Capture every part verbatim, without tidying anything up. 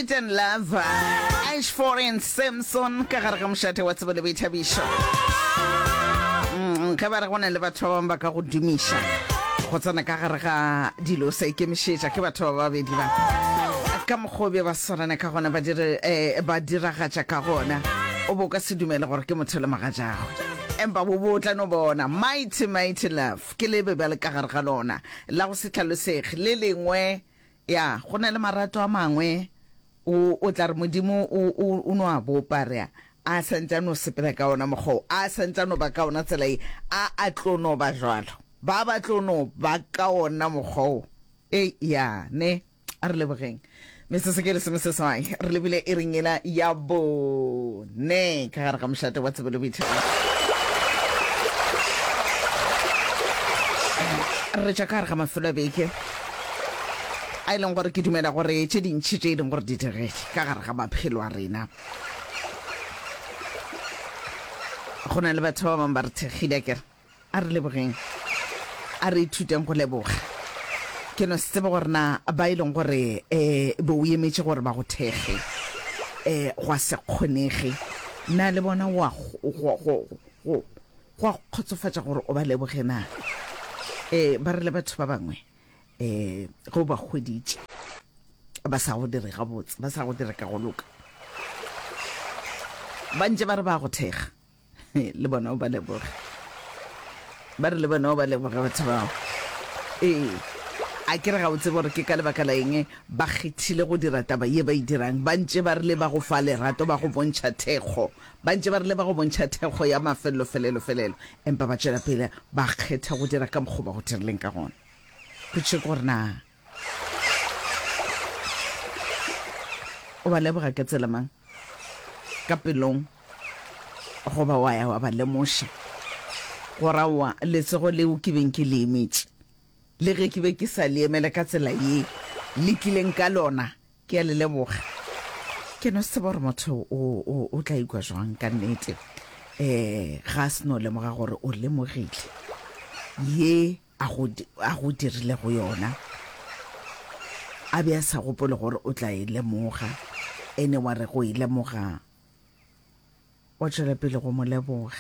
Sweet and Love, Ashford and Simpson ka gare ga mošate wa tsebo le boithabišo. Mm, ge ba re go na le batho ba bangwe ba ka go dumiša go tsena ka gare ga dilo sa ikemišetša ke batho ba babedi ba ka mokgwa o be ba swarana ka gona ba dire eh, ba diragatša ka gona o bo ka se dumele gore ke motho le mogatšagwe empa bo bo tla no bona mighty mighty love ke lebe bjale ka gare ga lona la go se hlalosege le lengwe ya go na le marato a mangwe o o tla re modimo o o o no a bopa rea a santse a no sepela ka ona mokgwa o a santse a no ba ka ona tsela e a a tlo no ba jwalo ba ba tlo no ba ka ona mokgwa o e ya ne a re lebogeng metsotso ke lesomeseswai re lebile e reng ela ya bone ka gare ga mošate wa tsebo le boithabišo re tšwa ka gare ga mafelo a beke a e leng gore ke dumela gore tše dintšhi tše e leng gore di diregile ka gare ga maphelo a rena go na le batho ba bangwe ba re thekgile akere a re lebogeng a re ithuteng go leboga ke no se tsebe gore na ba e leng gore um bo o emetše gore ba go thekge um gwa se kgonege na le bona wa go go go go a kgotsofatša gore o ba leboge na um ba re le batho ba bangwe um ge o ba hweditše ba sa go dire gabotse ba sa go dire ka go loka ba ntše ba re ba go thekga le bona o ba leboge ba re le bona o ba leboge batho bao ee a ke re ga o tsebe gore ke ka lebaka la eng ba kgethile go dira taba ye ba e dirang ba ntše ba re le ba go fa lerato ba go bontšha thekgo ba ntše ba re le ba go bontšha thekgo ya mafelelo felelo felelo empa ba tšwela pele ba kgetha go dira ka mokgwa ba go dirileng ka gona potšišo ke gore na o ba leboga ka tsela mang ka pelong goba wa ya wa ba lemoša gore aowa letsogo leo ke beng ke le emetše le ge ke be ke sa le emele ka tsela ye le tlileng ka lona ke a le leboga ke no se tseba gore motho o, o, o tla ikwa jwang ka nnete um ga a se no lemoga gore o lemogile ye a go, a go dirilego yona a be a sa gopole gore o tla e lemoga ene wa re go e lemoga wa tšwela pele go mo leboga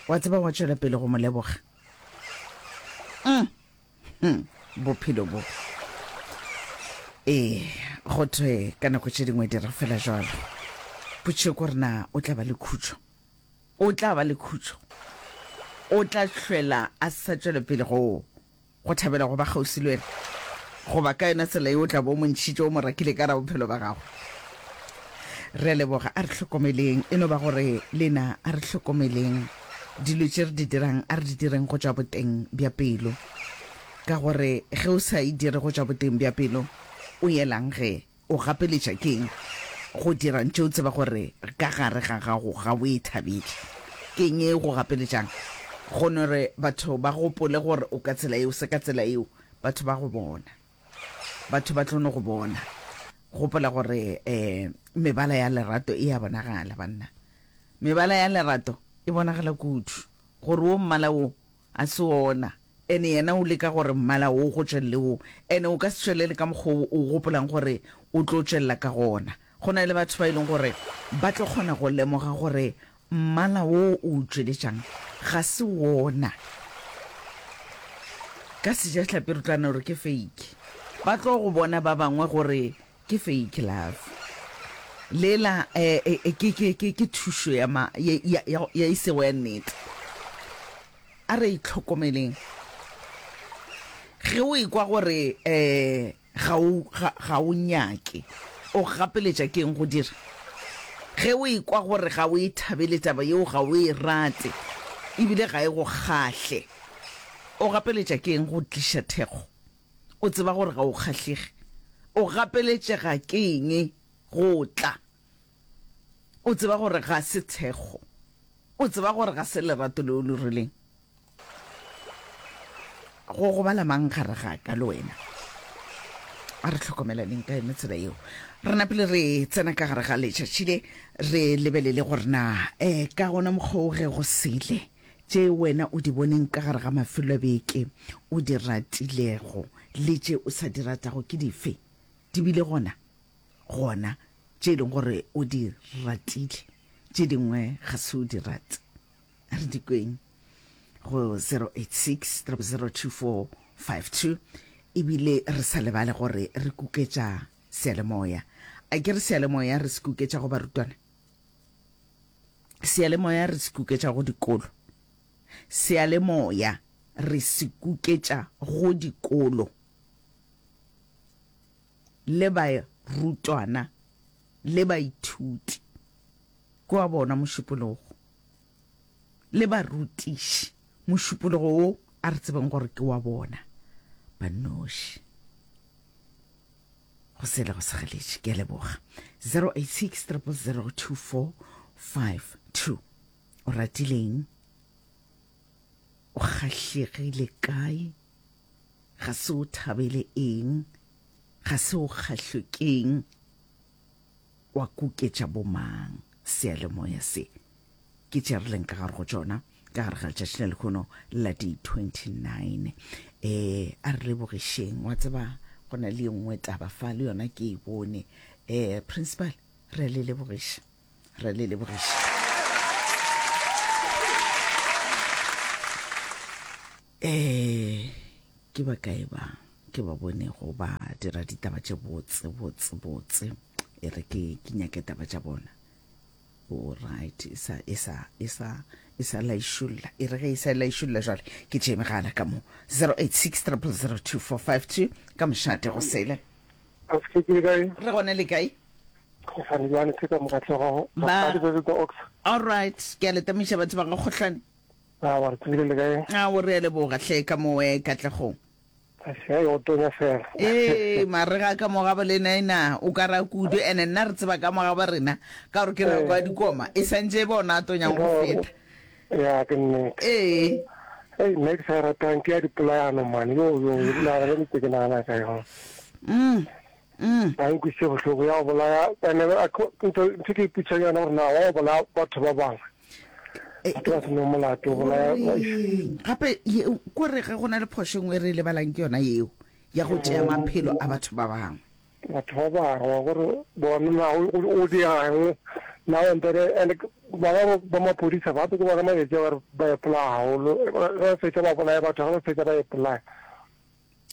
wa tseba wa tšwela pele go mo leboga mm. hmm. bophelo bo ee go thwe ka nako tše dingwe dira fela jalo potšišo ke gore na o tla ba le khutšo o tla ba le khutšo o tla hlwela a sa tšwele pele go go thabela go ba kgauswi le wena goba ka yona tsela ye o tla bo o mo ntšhitše o mo rakile ka ra bophelo ba gago re a leboga a re hlokomeleng e no ba gore lena a re hlokomeleng dilo tše re di dirang a re di direng go tšwa boteng bja pelo ka gore ge o sa e dire go tšwa boteng bja pelo o yelang ge o gapeletša keng go dira ntše o tseba gore ka gare ga gago ga o e thabele keng e go gapeletšang go no re batho ba gopole gore o ka tsela yeo se ka tsela yeo batho ba go bona batho ba tlo no go bona gopola gore um mebala ya lerato e a bonagala banna mebala ya lerato e bonagala kudu gore wo mmala wo a se ona ene yena o leka gore mmala wo go tšwelele wo ene o ka se tšwelele ka mokgwa o o gopolang gore o tlo tšwelela ka gona go na le batho ba e leng gore ba tlo kgona go lemoga gore mmala wo o o tšweletšang ga se wona ka sejahlapi re tla no re ke fake ba tlo go bona ba bangwe gore ke fake love lela eh, eh, eh, ke, ke, ke, ke thušo ya, ma, ya, ya, ya, ya e sego ya nnete a re itlhokomeleng ge o ekwa gore um ga o ga, ga o nyake o gapeletša ke eng go dira ge o ekwa gore ga o e thabele taba yeo ga o e rate ebile ga e go kgahle o gapeletša ke eng go tliša thekgo o tseba gore ga o kgahlege o gapeletšega ke eng go tla o tseba gore ga se thekgo o tseba gore ga se lerato leo le rileng go gobala mang gare ga ka le wena a re hlokomelaneng ka yone tsela yeo re napile re tsena ka gare ga letšatši le re lebelele gore na um ka gona mokgwa o ge go sele tše wena o di boneng ka gare ga mafelo a beke o di ratilego le tše o sa di ratago ke dife di bile gona gona tše e leng gore o di ratile, tše dingwe ga se o di rate. A re di kweng go zero eight six triple zero two four five two. Ebile re sa lebale gore re kuketša seyalemoya. A ke re seyalemoya re se kuketša go barutwana? Seyalemoya re se kuketša go dikolo. Seyalemoya re se kuketša go dikolo le barutwana le baithuti. Ke wa bona mošupologo le barutiši. Mošupologo wo a re tsebeng gore ke wa bona ba noši. Go sele go segeletše. Ke a leboga. zero eight six triple zero two four five two. O ratileng? O kgahlegile kae? Ga se o thabele eng? Ga se o kgahlwe keng? Wa kuketša bomang? Seyalemoya se ke tše re leng ka gare go tšona ka gare ga letšatši la lehono la di twenty-nine. Eh, a re lebogišeng. Wa tseba go na le nngwe taba fa le yona ke e bone. Eh, principal, re a le lebogiša. Re a le lebogiša. Eh, ke ba kae ba ke ba bonego ba dira ditaba tše botse botse botse. E re ke ke nyake taba tša bona. O right, e sa e sa e sa e sa laišolla. E re ge e sa laišolla jwale ke tšee megala ka mo zero eight six triple zero two four five two ka mošate go sele. A se ke le kae? Re gona le kae? Kgohlane bjane ke ka mokatlego Ba Rakgadi ba the Ox. All right, ke a le tamiša batho ba ga Kgohlane. A wa re tsebile le kae? A o re a leboga hle ka mo eh, Katlegong. Ašai o tonya fela. Ee, marega ka mo gabo lena ena o ka ra kudu, ene nna re tseba ka mo gabo rena ka gore ke nako ya dikoma e santše e bona a tonyang go feta. Ya ke nnete. Ee. Ei, nna ke sa e ratang ke ya dipolayano man. Yo yo, yo nagana le ntse ke nagana ka yona. Mm. Mm. Ba nkwisitše bohloko ya go bolaya ene ntho ntho ke ipotšang yona gore na wa go bolaya batho ba bangwe. Batho ba se nang molato o bolaya gape ko re ge go na le phošo nngwe re e lebalang ke yona yeo ya go tšea maphelo a batho ba bangwe. Batho ba bangwe gore bona na o dirang na o mpere and ba ba ba maphodisa ba ke bona matšatši a ba re ba ipolaya haholo ge ba fetša ba bolaya batho ge ba fetša ba ipolaya.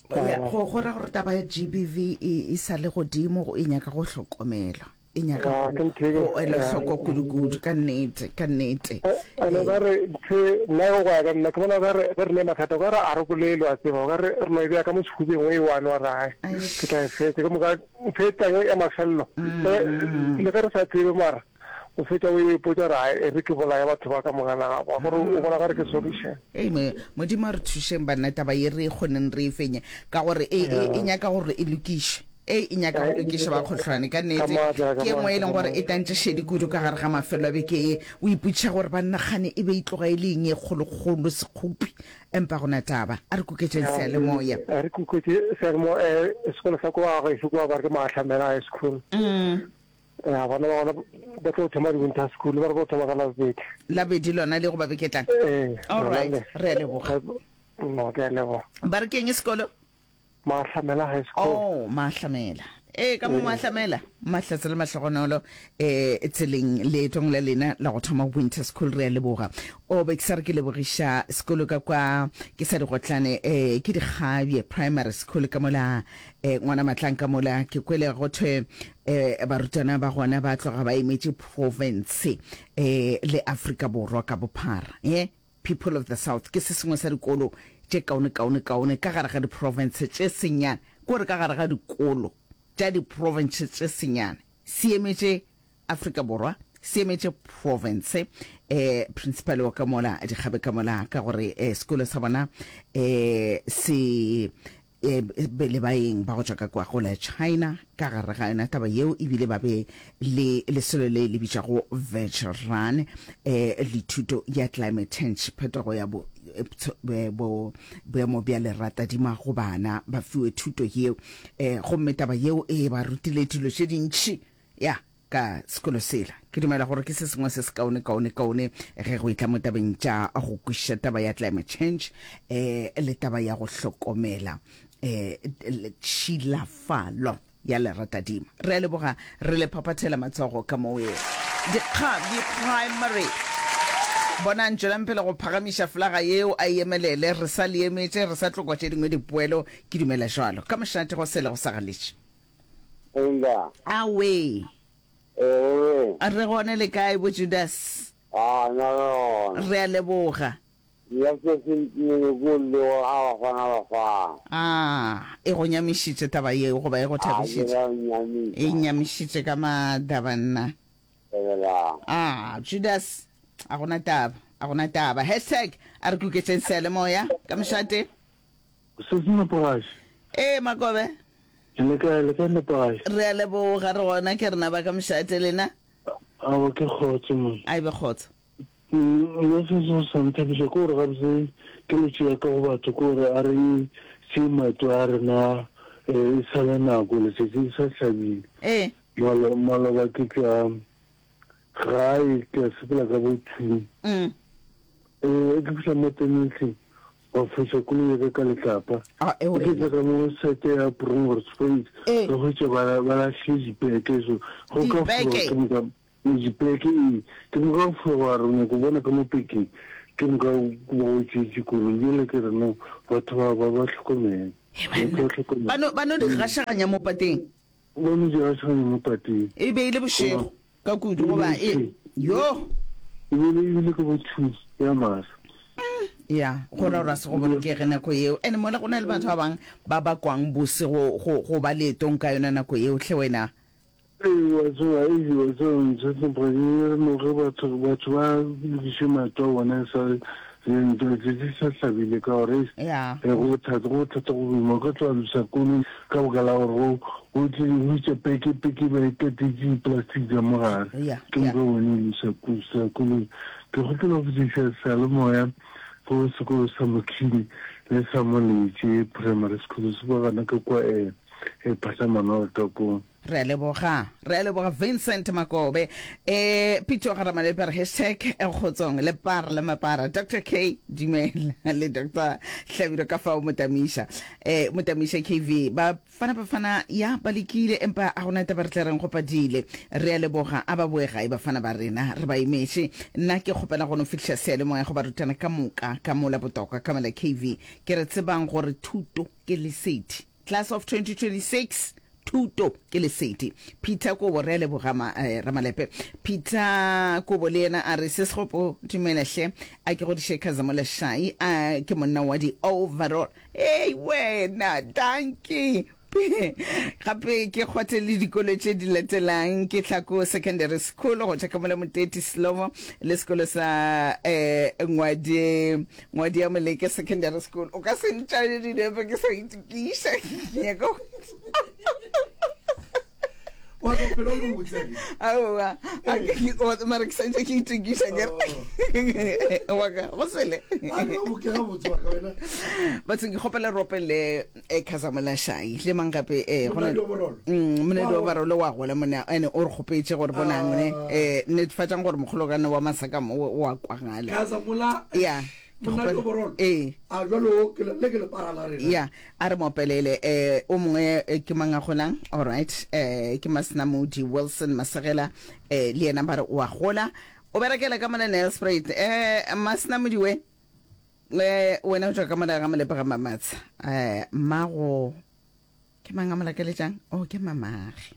Go go ra gore taba ya G B V e e sa le godimo e nyaka go hlokomelwa, e nyaka go go elwa hloko kudu-kudu ka nnete, ka nnete. Ene ka re ntho nna go ya ka nna ke bona ka re ge re ne mathata o ka re a re bolele wa tseba o ka re re no e beya ka mo sehubeng o e one wa re hai ke tla e fetsa ke moka ntho e tlang ya mafelelo le ge re sa tsebe mara o fetša o ipotša gore hai e re ke bolaye batho ba ka moka na ba gore o bona ka re ke solution. Ei Modimo a re thušeng banna taba ye re e kgoneng re e fenye ka gore e e e nyaka gore e lokišwe. E e nyaka go lokišwa ba kgohlwane ka nnete. Ke e nngwe e leng gore e tantše šedi kudu ka gare ga mafelo a beke ye. O ipotšiša gore banna kgane e be e tloga e le eng e kgolokgolo sekgopi empa go na taba. A re kuketšeng seyalemoya. A re kuketše seyalemoya sekolo sa kwa gešo kwa ba re ke Maahlamela High School. Ya, bana ba gona ba tlo thoma di-winter school, ba re ba thoma ka Labobedi. Labobedi lona le goba beke tlang? Ee. All right, re a leboga. No, ke a leboga. Ba re keng sekolo? Maahlamela High School. Oh, Maahlamela. Ee, ka mo Maahlamela. Mahlatse le mahlogonolo eh tseleng leetong la lena la go thoma winter school, re a leboga. O be ke sa re ke lebogiša sekolo ka kwa ke sa digotlane eh ke Dikgabje Primary School ka mola eh ngwana Matlang ka mola ke kwele go thwe eh barutwana ba gona ba tloga ba emetše province eh le Afrika Borwa ka bophara. Eh People of the South ke se sengwe sa dikolo tše kaone kaone kaone ka gare ga diprovince tše senyane, ke gore ka gare ga dikolo tša diprovince tše senyane se emetše Afrika Borwa, se emetše province. Eh principal wa ka mola Dikgabe ka mola ka gore eh sekolo sa bona eh se eh be le baeng ba go tšwa ka kwa go la China ka gare ga yona taba yeo, ebile ba be le lesolo le le bitšwago Virtual Run eh le thuto ya climate change, phetogo ya bo, bo boemo bja leratadima go bana, ba fiwe thuto yeo eh gomme taba yeo e ba rutile dilo tše dintši ya ka sekolo sela. Ke dumela gore ke se sengwe se se kaone kaone kaone ge go etla mo tabeng tša go kwešiša taba ya climate change eh le taba ya go hlokomela eh tšhilafalo ya Leratadima. Re a leboga, re le phaphathela matsogo ka moo. Dikgabi Primary. Bonang, tšwelang pele go phagamiša folaga yeo, a e emelele. Re sa le emetše, re sa tlo kwa tše dingwe dipoelo, ke dumela jwalo. Ka mošate go sele go sa galetše. Linda. Awe. Ee. Re gone le kae bo Judas? Ah, na re gona. Re a leboga. Nna se se ntimele ko le gore a bafana bafana. Ah, e go nyamišitše taba yeo goba e go A ke thabišitše? ra nyamiša. E nyamišitše ka maatla banna. Lebelang. Ah, Judas, a gona taba, a gona taba. Hashtag a re kuketšeng seyalemoya ka mošate. Se se nepagatše. Ee, Makobe. Le kae, le kae nepagatše? Re a leboga, re gona, ke rena ba ka mošate, lena? Aowa, ke kgotso man. A e be kgotso. Nna se se sa nthabiša ke gore gabotse keletšo ya ka go batho ke gore a re tšee maeto a rena e sa le nako, letšatši le sa hlabile. Ee. Malo, maloba ke tšwa gae ke a sepela ka bo two. Mm. Eh, ke fihla mo Tenentleng ba foša koloi ya ka ka letlapa. Ah, e Ke wena. tla ka mo sete ya Bronkhorstspruit Ee. ka hwetša ba ba lahlile dipeke so go ka Dipeke? foga ke moka dipeke ee ke moka go foga wa re o nyaka go bona ka mo pekeng ke moka ba go tšeetše koloi bjale ke re no batho ba ba ba hlokomele He batho banna. ba hlokomele Ba no ba no di gašaganya mo pateng. ba no di gašaganya mo pateng E be e le bošego ka kudu goba e yo. E be e bile ka bo two ya masa. Ya, go ra gore a se go bolokege nako yeo. And mola go na le batho ba bang ba ba kwang bose go, go, go ba leetong ka yona nako yeo, hle wena. Ee, wa tseba, ee, wa tseba, Mtshetsempra, ke re no ge batho, batho ba lokiše maeto a bona e sa le ntwa tše di sa hlabile ka gore eish, Ya. eh, go bothata, go bothata go boima. O ka tloga losa koloi ka baka la gore go, go tle go itše peke, peke ba e katetše di-plastic ka mo gare. Ya, Ke ya. moka bone o losa ko-, koloi. Ke kgopela go botšiša seyalemoya go sekolo sa Mokhini le sa Moletše Primary School se ba gana ka kwa eh, eh, Phahlamanoro ka koo. Re a leboga, re a leboga Vincent Makobe. Eh, Pitso ga Ramalepe re hashtag eh, kgotsong le para le mapara. Doctor K dumela le Doctor Hlabirwa ka fao Motamiša. Eh, Motamiša K V ba fana ba fana ya ba lekile empa a gona taba re tla reng go padile. Re a leboga a ba boe gae bafana ba rena re ba emetše. Nna ke kgopela go no fihliša seyalemoya go barutwana ka moka ka mola botokwa ka mola K V. Ke re tsebang gore thuto ke lesedi. Class of twenty twenty-six thuto ke lesedi. Peter Kobo re a leboga ma, eh, Ramalepe. Peter Kobo le yena a re se segopo dumela hle a ke godiše Khazamola Shai a ke monna wa di overall. Hey wena dankie. Gape ke kgwathe le dikolo tše di latelang ke Tlhako Secondary School go tšwa ka mola Moteti Slomo le sekolo sa eh, Ngwadi Ngwadi ya Moleke Secondary School. O ka se ntšale dinepe ke sa itokiša. Ke nyaka go- Wa tlo phela o le botse. Aowa, a ke- ke- wa- mara ke santse ke itokiša ke re. Wa ka, go sele. A ke go ke ga botse wa ka wena. Bathong ke kgopela re opele eh, Khazamola Shai le mang gape eh, go na- Monadi wa Borolo. Mm, monadi wa Wa- Borolo wa gola monna ene o re kgopetše gore bonang ne Ah. eh, netefatšang gore mokgolokane wa Masaka mo o a kwagala. Khazamola. Ya. Ke Monadi wa kgopela- Borolo. Ee. A jwalo ke le, le ke lepara la rena. Ya, a re mopelele eh o mongwe eh, ke mang a golang? All right. Eh ke Masnamudi Wilson Masegela eh le yena ba re o a gola. O berekela ka mona Nelspruit. Eh Masnamudi we eh wena o tšwa ka mona ga Molepe ga Mamatsha. Eh mmago ke mang a mo lakeletšang? Oh ke mamage.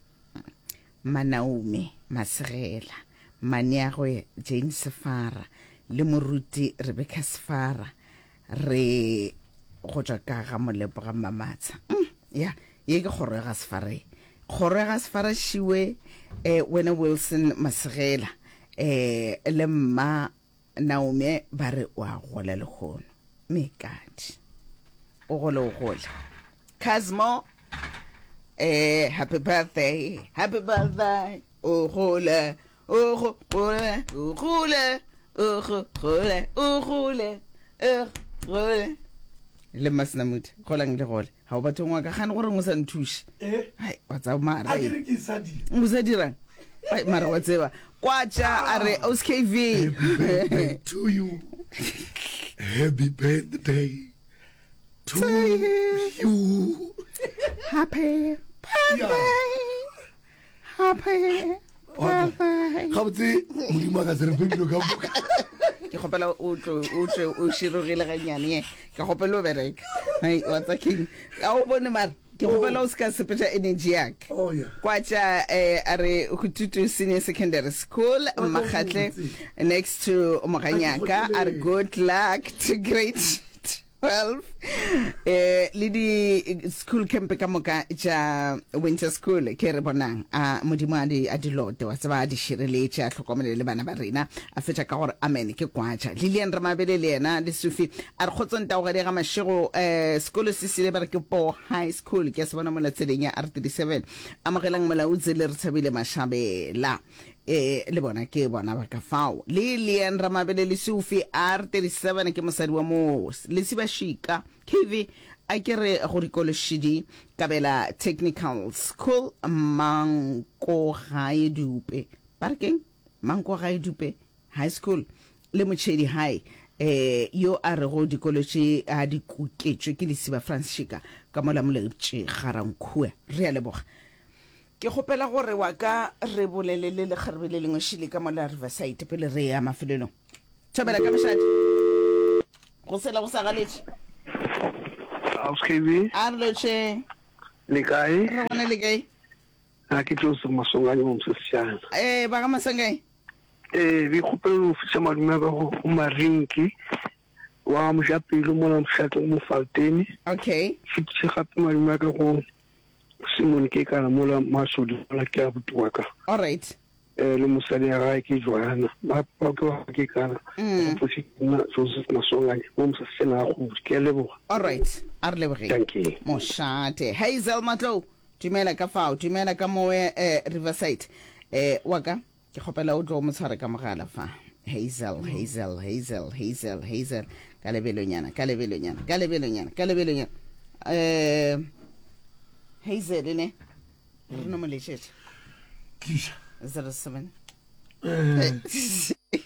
Manaome Masegela, Maniagwe Jane Sefara le moruti Rebecca Sefara re go tšwa ka ga Molepo ga Mamatsha. Mm, ya, ye ke kgoro ya ga Sefara. Kgoro ya ga Sefara šiwe eh, wena Wilson Masegela eh, le mma Naomi ba re o a gola lehono. Mekadi. O gole o gole. Cosmo eh, happy birthday, happy birthday. O gole, o go gole, o gole, o go gole, o gole, o gole. Le Masnamudi, golang le gole. Ha o batho ngwa ka gane gore o sa nthuše. Eh? Hai, wa tseba mara. A ke re ke sa dira. O sa dirang? Ai, mara wa tseba. Kwatša a re O S K V. Happy birthday to you. Happy birthday to you. Happy Happy Gabotse Modimo a ka se re fe dilo ka moka. Ke kgopela o tlo o tle o širogile gannyane, ke kgopela o bereka. Hai, wa tsa king? A o bone mara ke kgopela o se ka sepetša energy ya ka. Oh, yeah. Kwa tša eh, a re Hututu Senior Secondary School, Mmakgatle, next to Moganyaka, a re good luck to grade twelve eh le di school camp ka moka tša winter school. Ke re bonang a Modimo a di a di lote, wa tseba, a di šireletše, a hlokomele le bana ba rena. A fetša ka gore amen. Ke kwatša Lilian Ramabele le yena le Sufi, a re kgotsong taogadi ga Mašego. eh sekolo se sile ba re ke Po High School, ke a se bona mola tseleng ya R thirty-seven. Amogelang Molautse le re Thabile Mashabela, eh le bona ke bona ba ka fao. Lilian Ramabele le Sufi, R thirty-seven, ke mosadi wa mo Lesibašika. K V a ke re go dikološidi Kabela Technical School, Mankogae Dupe, ba re keng, Mankogae Dupe High School le Motšhedi High. eh yo a rego dikolo tše a di kuketšwe ke Lesiba Franschika ka mola Molepše Garankua. Re a leboga. Ke kgopela gore wa ka re bolele le lekgarebe le lengwe šile ka mola Riverside pele re ya mafelelong. Thobela ka mošate. Go sela go sa galetše. House K B. A re lotšhe. Le kae? Re gona, le kae? A ke Joseph Masonganye mo Mosesejana. Eh ba ga Masonganye. Eh be kgopela go fihla madume a ka go go Marinki wa Mojapelo mola mošate o mo Faltene. Okay. Fetiše gape madume a ka go Simon Kekana mola Masodi mola ke abuti wa ka. All right. Eh le mosadi ya gae ke Joanna. Ba ba ke wa Kekana. Mm. Go fotše nna Joseph Masonganye mo Mosesejana ga Kgodu. Ke a leboga. All right. A re lebogeng. Thank you. Mošate. Hazel Matlou. Dumela ka fao. Dumela ka mowe eh Riverside. Eh wa ka ke kgopela o tlo mo tshware ka mogala fa. Hazel, Hazel, Hazel, Hazel, Hazel, ka lebelonyana, ka lebelonyana, ka lebelonyana, ka lebelonyana. Eh Hazel ne. Re no mo letšetša. Tliša. zero seven. Eh.